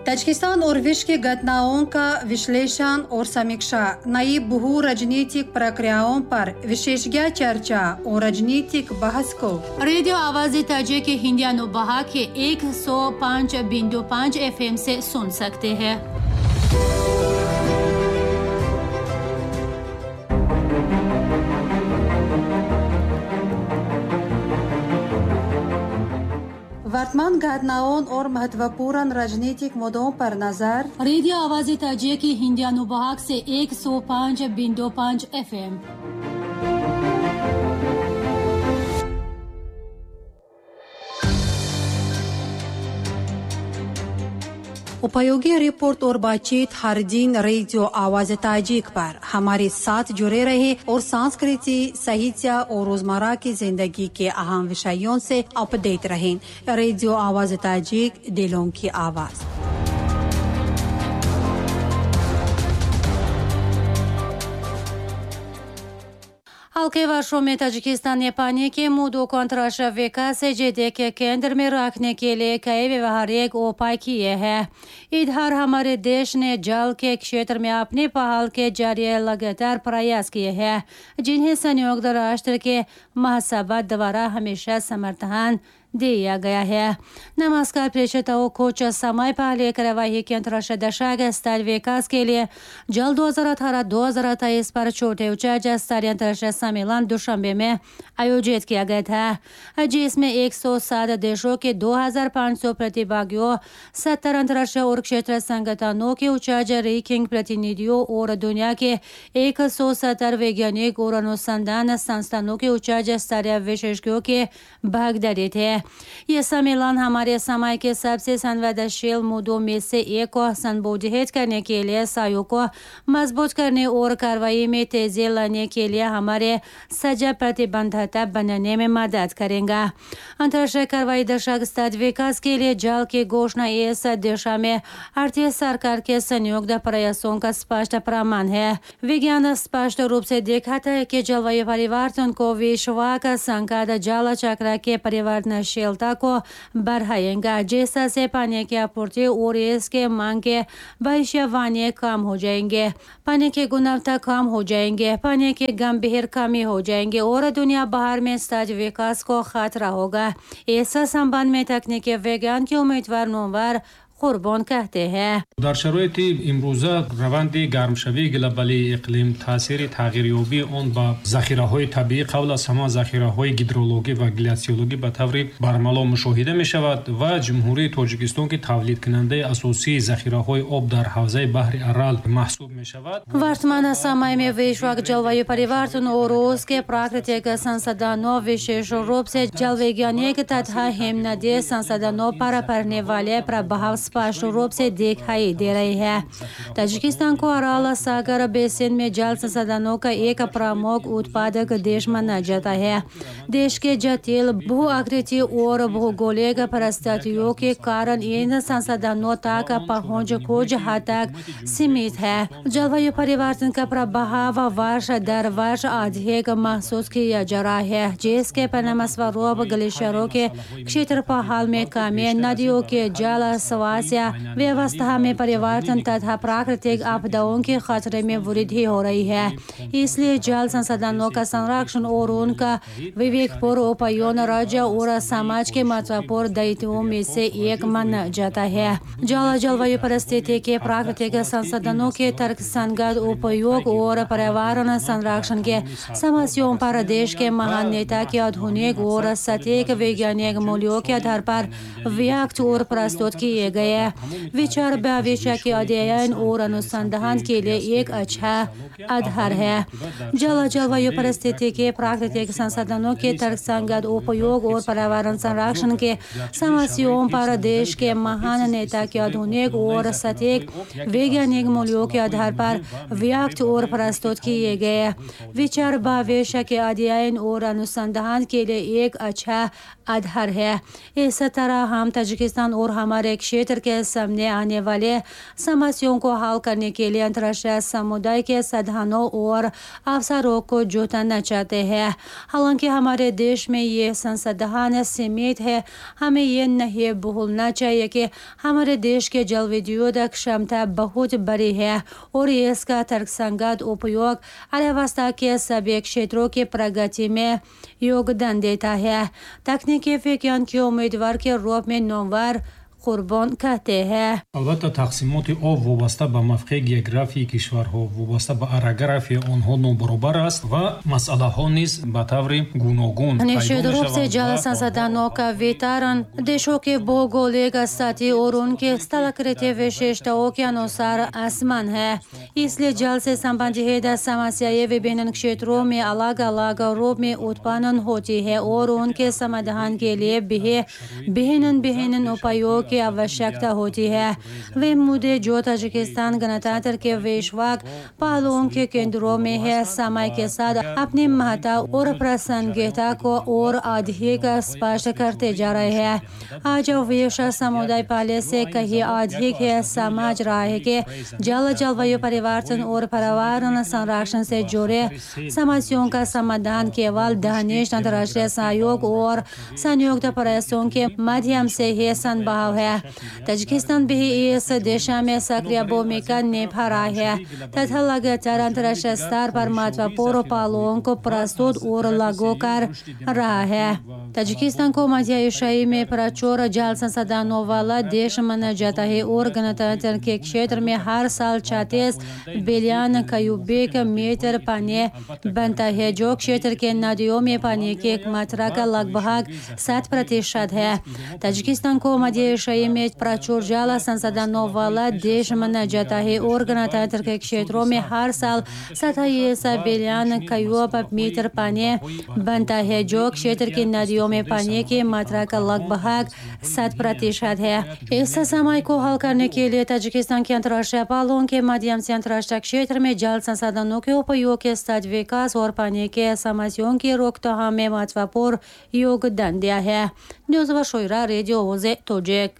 Tajikistan और विश्व की घटनाओं का विश्लेषण और समीक्षा, नई बहु राजनीतिक प्रक्रियाओं पर विशेषज्ञ चर्चा और राजनीतिक बहस को रेडियो आवाज़ ताजिक हिंदी अनुभाग के 105.5 एफएम से सुन सकते हैं। वर्तमान घटनाओं और महत्वपूर्ण राजनीतिक मुद्दों पर नजर रेडियो आवाज़ ताजिक हिंदी अनुभाग से 105.5 एफएम। उपयोगी रिपोर्ट और बातचीत हर दिन रेडियो आवाज़ ताजिक पर हमारे साथ जुड़े रहे और संस्कृति, साहित्य और रोजमर्रा की जिंदगी के अहम विषयों से अपडेट रहें। रेडियो आवाज़ ताजिक, दिलों की आवाज़। हल्के वर्षों में ताजिकिस्तान ने पानी के मुद्दों को अंतर्राष्ट्रीय विकास एजेंडे के केंद्र में रखने के लिए कई व्यवहारिक उपाय किए हैं। इधर हमारे देश ने जल के क्षेत्र में अपनी पहल के जरिए लगातार प्रयास किए हैं, जिन्हें संयुक्त राष्ट्र के महासभा द्वारा हमेशा समर्थन दिया गया है। नमस्कार प्रेक्षकों, कुछ समय पहले कार्यवाही के अंतर्राष्ट्रीय दशक स्तर विकास के लिए जल 2018-2023 पर छोटे उच्च स्तरीय अंतर्राष्ट्रीय सम्मेलन दुशांबे में आयोजित किया गया था, जिसमें 107 देशों के 2500 प्रतिभागियों, 70 अंतर्राष्ट्रीय और क्षेत्र संगठनों के उच्च रैंकिंग प्रतिनिधियों और दुनिया के 170 वैज्ञानिक और अनुसंधान संस्थानों के उच्च स्तरीय विशेषज्ञों के भागीदारी थे। ये सम्मेलन हमारे समय के सबसे संवेदनशील मुद्दों में से एक को संबोधित करने के लिए सहयोग को मजबूत करने और कार्रवाई में तेजी लाने के लिए हमारे सजा प्रतिबद्धता बनाने में मदद करेगा। अंतर्राष्ट्रीय कार्रवाई दशक स्तर विकास के लिए जल की घोषणा इस दिशा में भारतीय सरकार के संयुक्त प्रयासों का स्पष्ट प्रमाण है। विज्ञान स्पष्ट रूप से दिखाता है कि जलवायु परिवर्तन को विश्व का संकट जल चक्र के परिवर्तनशीलता को बढ़ाएगा, जिससे पानी की आपूर्ति और इसके मांग के भविष्यवाणी कम हो जाएंगे, पानी की गुणवत्ता कम हो जाएंगे, पानी की गंभीर कमी हो जाएंगे और दुनिया भर में सहज विकास को खतरा होगा। इस संबंध में तकनीकी विज्ञान के उम्मीदवार नोवर Қурбон कहते हैं। Дар шароити имрӯза раванди гармшавии глобалии иқлим, таъсири тағйирёбии он ба захираҳои табиӣ, қабл аз ҳама захираҳои гидрологӣ ва гляциологӣ ба таври бармало мушоҳида мешавад ва Ҷумҳурии Тоҷикистон, ки тавлидкунандаи асосии захираҳои об дар ҳавзаи баҳри Арал маҳсуб мешавад. वर्तमान समय में विश्व जलवायु परिवर्तन और उसके प्राकृतिक संसाधनों, विशेष रूप से जल वैज्ञानिक तथा हिमनदी संसाधनों पर पड़ने वाले प्रभाव स्पष्ट रूप से दिखाई दे रही है। ताजिकिस्तान को अराल सागर बेसिन में जल संसाधनों का एक प्रमुख उत्पादक देश माना जाता है। देश के जटिल भू आकृति और भौगोलिक परिस्थितियों के कारण इन संसाधनों तक पहुंच कुछ हद तक सीमित है। जलवायु परिवर्तन का प्रभाव वर्ष दर वर्ष अधिक महसूस किया जा रहा है, जिसके परिणामस्वरूप ग्लेशियरों के क्षेत्रफल में कमी, नदियों के जल स्वास्थ्य व्यवस्था में परिवर्तन तथा प्राकृतिक आपदाओं के खतरे में वृद्धि हो रही है। इसलिए जल संसाधनों का संरक्षण और उनका विवेकपूर्ण उपयोग राज्य और समाज के महत्वपूर्ण दायित्वों में से एक माना जाता है। जल जलवायु परिस्थिति के प्राकृतिक संसाधनों के तर्कसंगत उपयोग और पर्यावरण संरक्षण के समस्याओं पर देश के महान नेता के आधुनिक और सटीक वैज्ञानिक मूल्यों के आधार पर व्यक्त और प्रस्तुत किए गए विचार भविष्य के अध्ययन और अनुसंधान के लिए एक अच्छा आधार है। जल जलवायु परिस्थिति के प्राकृतिक संसाधनों के तर्कसंगत उपयोग और पर्यावरण संरक्षण के समस्याओं पर देश के महान नेता के आधुनिक और सटीक वैज्ञानिक मूल्यों के आधार पर व्यक्त और प्रस्तुत किए गए विचार भविष्य के अध्ययन और अनुसंधान के लिए एक अच्छा आधार है। इस तरह हम ताजिकिस्तान और हमारे क्षेत्र गणतंत्र के सामने आने वाले समस्याओं को हल करने के लिए अंतर्राष्ट्रीय समुदाय के साधनों और अवसरों को जुटाना चाहते हैं। हालांकि हमारे देश में ये संसाधन सीमित है, हमें ये नहीं भूलना चाहिए कि हमारे देश के जल विद्युत क्षमता बहुत बड़ी है और इसका तर्कसंगत उपयोग अर्थव्यवस्था के सभी क्षेत्रों की प्रगति में योगदान देता है। तकनीकी विज्ञान के उम्मीदवार के रूप में नोवर Қурбон कहते हैं। Албатта, тақсимоти об вобаста ба мавқеи географии кишварҳо, вобаста ба орографияи онҳо нобаробар аст ва масъалаҳо низ ба таври гуногун निश्चित रूप से जल संसाधनों का वितरण देशों के भौगोलिक स्थिति और उनके स्थलाकृति विशेषताओं के अनुसार असमान है। इसलिए जल से संबंधित समस्याएं विभिन्न क्षेत्रों में अलग अलग रूप में उत्पन्न होती है और उनके समाधान के लिए भी भिन्न भिन्न उपायों की आवश्यकता होती है। वे मुद्दे जो ताजिकिस्तान गणतंत्र के वैश्विक पहलुओं के केंद्रों में है, समय के साथ अपनी महत्ता और प्रासंगिकता को और अधिक स्पष्ट करते जा रहे हैं। आज विश्व समुदाय पहले से कहीं अधिक है समझ रहा है कि जल, जलवायु परिवर्तन और पर्यावरण संरक्षण से जुड़े समस्याओं का समाधान केवल घनिष्ठ अंतर्राष्ट्रीय सहयोग और संयुक्त प्रयासों के माध्यम से ही संभव है। ताजिकिस्तान भी इस दिशा में सक्रिय भूमिका निभा रहा है तथा लगातार अंतर्राष्ट्रीय स्तर पर महत्वपूर्ण पहलुओं को प्रस्तुत और लागू कर रहा है। ताजिकिस्तान को मध्य एशियाई में प्रचुर जल संसाधनों वाला देश माना जाता है और गणतंत्र के क्षेत्र में हर साल 36 billion cubic metre पानी बनता है, जो क्षेत्र के नदियों में पानी की मात्रा का लगभग 7% है। ताजिकिस्तान को मध्य एशियाई में प्रचुर जल संसाधनों वाला देश माना जाता है और गणतंत्र के क्षेत्रों में हर साल 27 billion cubic metre पानी बनता है, जो क्षेत्र की नदियों में पानी की मात्रा का लगभग 7% है। इस समय को हल करने के लिए ताजिकिस्तान के अंतर्राष्ट्रीय पहलुओं के माध्यम से अंतर्राष्ट्रीय क्षेत्र में जल संसाधनों के उपयोग के साथ विकास और पानी के समस्याओं की रोकथाम में महत्वपूर्ण योगदान दिया है। न्यूज़ व शोरा, रेडियो ओजे तोजेक।